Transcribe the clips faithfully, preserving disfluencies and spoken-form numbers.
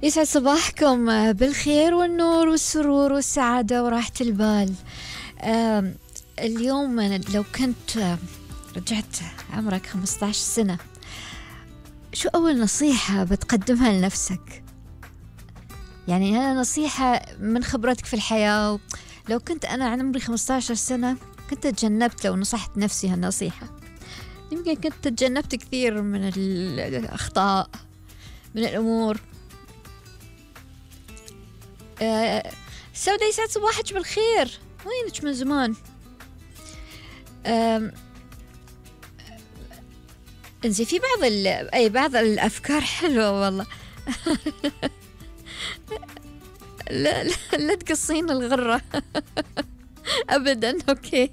يسعد صباحكم بالخير والنور والسرور والسعادة وراحة البال. آم، اليوم أنا لو كنت آه، رجعت عمرك خمسة عشر سنة، شو أول نصيحة بتقدمها لنفسك؟ يعني أنا نصيحة من خبرتك في الحياة. لو كنت أنا عمري خمسة عشر سنة كنت تجنبت، لو نصحت نفسي هالنصيحة يمكن كنت تجنبت كثير من الأخطاء، من الأمور. آه، سودة يسعد صباحك بالخير، وينك من زمان؟ آم، انزين في بعض ال... اي بعض الافكار حلوة والله. لا لا, لا تقصين الغرة. ابدا. اوكي.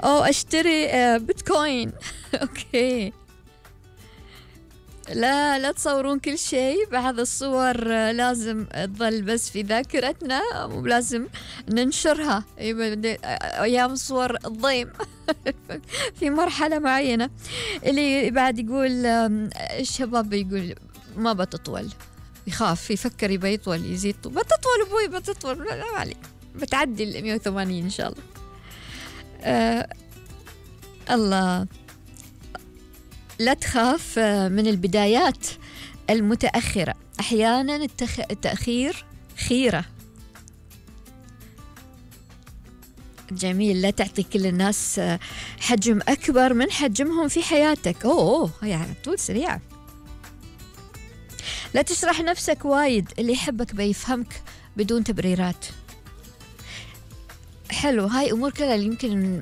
او اشتري آه، بيتكوين. اوكي. لا لا تصورون كل شيء، بعض الصور آه، لازم تظل بس في ذاكرتنا، ولازم ننشرها أيام صور الضيم. في مرحلة معينة اللي بعد يقول آم، الشباب يقول ما بتطول، يخاف يفكر يبى يطول يزيد طول. بتطول أبوي بتطول، لا لا عليك، بتعدي ال مية وثمانين إن شاء الله. آه الله. لا تخاف آه، من البدايات المتأخرة، أحيانا التخ... التأخير خيرة. جميل. لا تعطي كل الناس آه، حجم أكبر من حجمهم في حياتك. أوه, أوه يعني طول سريعة. لا تشرح نفسك وايد، اللي يحبك بيفهمك بدون تبريرات. حلو، هاي أمور كلها اللي يمكن